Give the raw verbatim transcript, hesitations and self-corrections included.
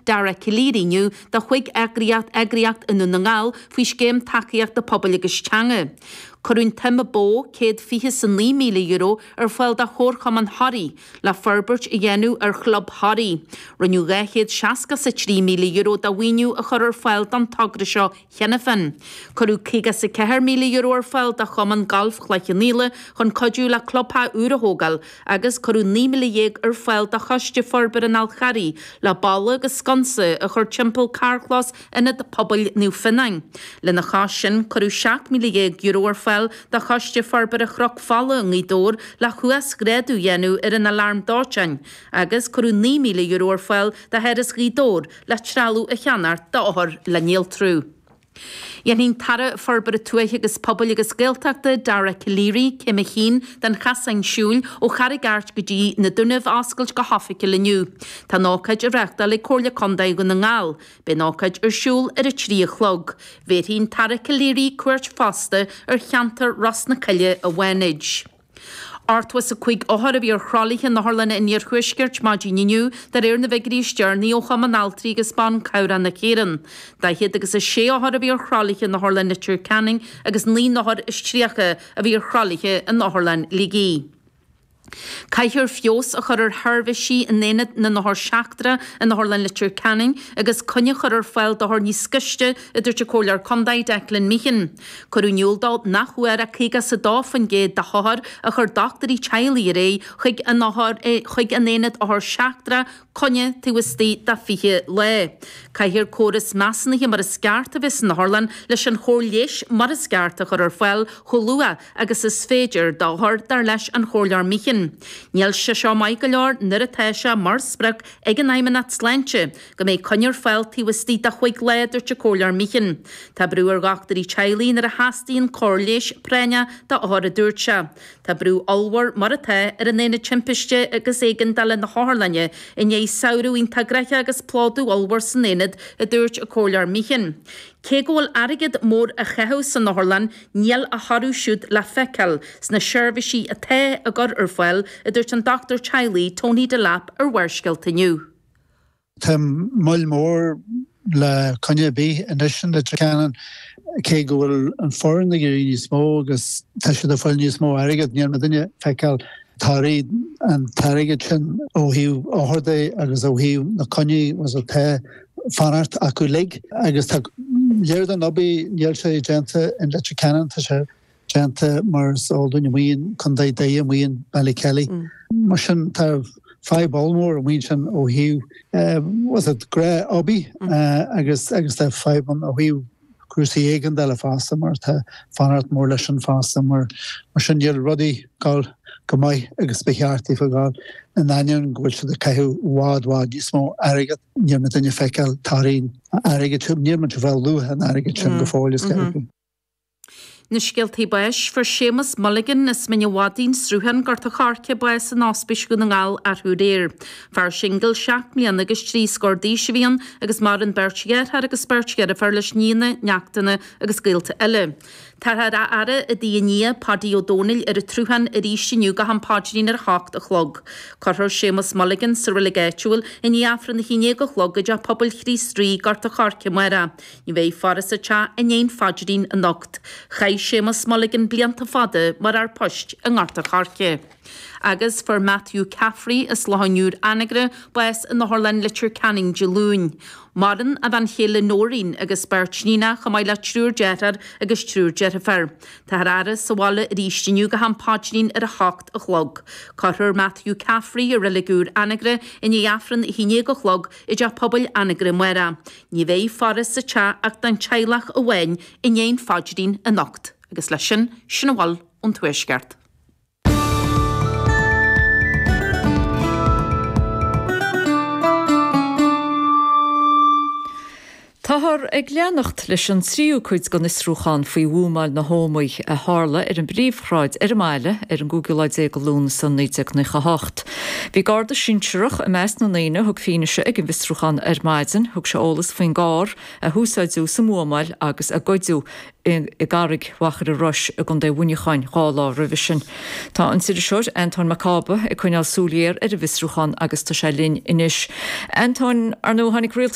Dara Calleary inniu do chúig eagraíocht eagraíocht i nDún na nGall faoi scéim tacaíochta pobail agus teanga. Cuireadh an tsuim ba mhó céad fiche is a naoi míle euro ar fáil do Chomharchumann Thoraí le forbairt a dhéanamh ar chlub Thoraí. Rinneadh dhá chéad seasca is a trí míle euro de mhaoiniú a chur ar fáil don togra seo cheana féin. Cuireadh caoga is a ceathair míle euro ar fáil do Chumann Gailf Chloich Cheann Fhaola chun cuidiú le clubtheach úr a thógáil agus cuireadh naoi míle dhéag ar fáil do Choiste Forbartha an Fhál Charraigh le balla agus sconsa a chur timpeall carrchlós Ionad Pobail Naomh Fionáin. Lena chois sin, cuireadh seacht míle dhéag euro ar fáil do Choiste Forbartha Chnoc Fola i nGaoth Dobhair le huasghrádú a dhéanamh ar an alarm dóiteáin agus cuireadh naoi míle euro ar fáil do Sharas Ghaoth Dobhair le trealamh a cheannacht d'othair le néaltrú. Dhéanfaidh an tAire Forbartha Tuaithe agus Pobail agus Gaeltachta, Dara Calleary, Céim a haon den chasán siúil ó Charraig Airt go dtí na Dúnaibh a oscailt go hoifigiúil inniu. Tá an ócáid á reáchtáil ag Comhairle Contae Dhún na nGall. Beidh an ócáid ar siúl ar a trí a chlog. Bhéarfaidh an tAire Calleary cuairt fosta ar cheantar Ros na Coille i bhFánaid. Ochtó is a cúig othar a bhí ar thralaithe in otharlanna an iarthuaiscirt maidin inniu, de réir na bhfigiúirí is deireanaí ó Chumann Altraí agus Ban Cabhrach na hÉireann. Daichead agus a sé othar a bhí ar thralaithe in Otharlann Leitir Ceanainn agus naoi n-othar is tríocha a bhí ar thralaithe in Otharlann Shligigh. Caithfear feabhas a chur ar sheirbhísí in Aonad na nOthar Seachtrach in Otharlann Leitir Ceanainn agus coinne a chur ar fáil d'othair níos gaiste, a dúirt an Comhairleoir Contae Declan Meehan. Cuireadh in iúl dó nach bhfuair ach caoga is a dó faoin gcéad de hothair a chuir dochtúirí teaghlaigh ar aghaidh chuig an chuig an Aonad Othar Seachtrach coinne taobh istigh de fiche lá. Caithfear córas measúnaithe mar is ceart a bheith san otharlann leis an chóir leighis mar is ceart a chur ar fáil chomh luath agus is féidir d'othair, dar leis an Chomhairleoir Meehan. Níl sé seo maith go leor nuair atá sé mar sprioc ag an Fheidhmeannacht Sláinte go mbeidh coinne ar fáil taobh istigh de chúig lá, a dúirt an Comhairleoir Meehan. Tá brú ar dhochtúirí teaghlaigh nuair a theastaíonn cóir leighis práinneach d'othair, a dúirt sé. Tá brú ollmhór mar atá ar an Aonad Timpiste agus Éigeandála na hOtharlainne i ndiaidh samhradh iontach gnoitheach agus plódú ollmhór san aonad, a dúirt an Comhairleoir Meehan. Cé go bhfuil airgead mór á chaitheamh san otharlann, níl a thoradh siúd le feiceáil sna seirbhísí atá á gcur ar fáil, a dúirt an dochtúir teaghlaigh Tony Delap ar Bharrscéalta inniu. Tá moill mhór le coinne ar bith anois in Leitir Ceanainn, cé go bhfuil an foireann ag éirí níos mó agus tá siad ag fáil níos mó airgead, níl muidinne ag feiceáil torthaí an t-airgead sin ó thaobh othar de agus ó thaobh na coinní was atá fanacht acu uilig. Agus tá léir don obair, níl sé déanta in Leitir Ceanainn, tá sé déanta mar is eol dúinn amuigh in Contae Doire, amuigh in Ballykelly. Mar sin tá fadhb ollmhór amuigh ansin ó thaobh was it gnáth-obair agus agus tá fadhb ann ó thaobh cúrsaí éigeandála fosta mar tá fanacht mór leis sin fosta mar mar sin níl rudaí ag gabháil chomh maith agus ba cheart daofa gabháil in ainneoin go bhfuil siad ag caitheamh i bhfad bhfad níos mó airgead níl muidinne ag feiceáil torthaí an airgid sin níl muid ag fáil luach an airgid sin go fóill is ceart. Na scéaltaí báis, Fuair Séamus Mulligan as Mín an Mhadaidh, An Sruthán, Gort a' Choirce, bás in Ospís Dhún na nGall arú aréir. Fear singil seacht mbliana agus trí scór d'aois a bhí ann agus maireann beirt dheartháir agus beirt dheirféar leis, nianna, neachtanna agus gaolta eile. Táthar á fhaire i dtigh a nia, Paidí Ó Dónaill, ar an tSruthán arís inniu go ham paidrín ar a hocht a chlog. Cuirfear Séamus Mulligan sa reilig áitiúil i ndiaidh Aifreann a haon déag a chlog i dTeach Pobail Chríost Rí, Gort a' Choirce amárach. Ní bheidh faire sa teach i ndiaidh an phaidrín anocht. Chaith Séamus Mulligan blianta fada mar fhear poist i nGort a' Choirce. Agus fuair Matthew Caffrey as Loch an Iúir, Anagaire, bás in Otharlann Leitir Ceanainn Dé Luain. Maireann a bhean chéile Nóirín agus beirt níonach chomh maith le triúr deartháir agus triúr deirféar. Táthar á fhaire sa bhaile arís inniu go ham paidrín ar a hocht a chlog. Cuirfear Matthew Caffrey i Reilig Úr Anagaire i ndiaidh Aifreann a haon déag a chlog i dTeach Pobail Anagaire amárach. Ní bheidh faire sa teach ach don teaghlach amháin i ndiaidh an phaidrín anocht. Agus leis sin, sin a bhfuil ón Tuaisceart. Táthar ag leanacht leis an tríú cuid den fhiosrúchán faoi bhuamáil na hÓmaí a tharla ar an bpríomhshráid ar an mbaile ar an gcúigiú lá déag de Lúnasa naoi déag nócha a hocht. Bhí garda sinsearach i measc na ndaoine a thug fianaise ag an bhfiosrúchán ar maidin. Thug sé eolas faoin gcarr a húsáideadh sa mbuamáil agus a goideadh i gCarraig Mhachaire Rois i gContae Mhuineacháin dhá lá roimhe sin. Tá an t-iriseoir Antóin Mac Cába ag coinneáil súil ghéar ar an bhfiosrúchán agus tá sé linn anois. Antóin, ar ndóigh tháinig rialtas